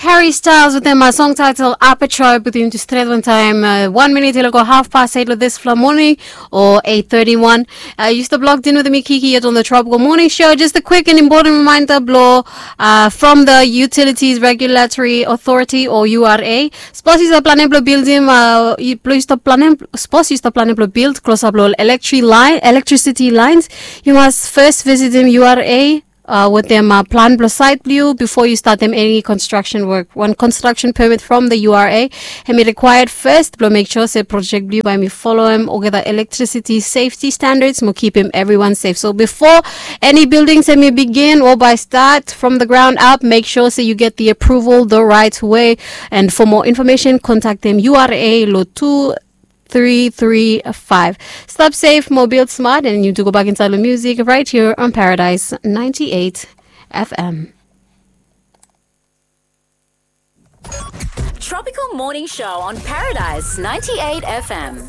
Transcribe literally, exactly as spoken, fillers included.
Harry Styles wetem song title Aperture. Putum tu stret wantaem wan minit i lago haf pas eit long disfala moning, o eit teti wan. Yu stap logged in wetem mi, Kiki, yet long the Tropical Morning Show. Just a quick and important reminder blong from the Utilities Regulatory Authority, o U R A. Sapos yu stap planem blong bildim, blong yu stap planem, sapos yu stap planem blong bild klosap long electri- line, electricity lines, yu mas fes visitim U R A wetem plan blong sait blong yu bifo yu statem eni construction work. Wan construction permit from the U R A hemi required fes blong mek sua se project blong yu bae hemi foloem olgeta electricity safety standards mo kipim evriwan safe. So bifo eni buildings hemi bigin o bae stat from the ground up, mek sua se yu get the approval the right way. And for more information, kontaktem U R A long tu tri tri faef. Stap sef mo bild smat, and yu tu go bak insaed long music right here on Paradise ninety-eight F M. Tropical Morning Show on Paradise ninety-eight F M.